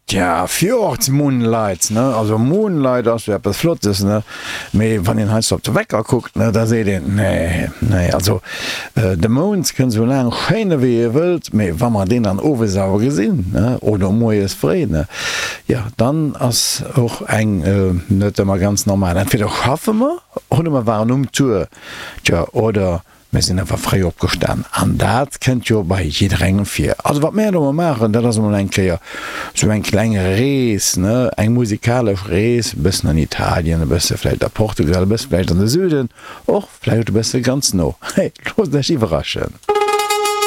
Tja, Fjords Moonlight, ne? Also Moonlight ass jo eppes Flottes, ne? Mee wann een heiansdo op de Wecker kuckt, ne, da seet een, nee, nee, also de Mound kënn esou laang schéine wéi e wëllt, mee wa mer deen dann owes awer gesinn, ne, oder moies fréi, ne, jo, dann ass och eng net ëmmer ganz normal. Entweder schaffe mer oder mer waren um Tour, tja, oder Mir sinn awer fréi opgestan an dat kënnt jo bei jidderengem vir. Also wat mär elo mol maachen, dat ass emol eng Kéier sou eng kleng Rees, ne, eng musikalesch Rees, e bëssen an Italien, e bësse vläicht a Portugal, e bësse vläicht an de Süden, och vläicht e bësse ganz no. Hey, loosst iech iwwerraschen!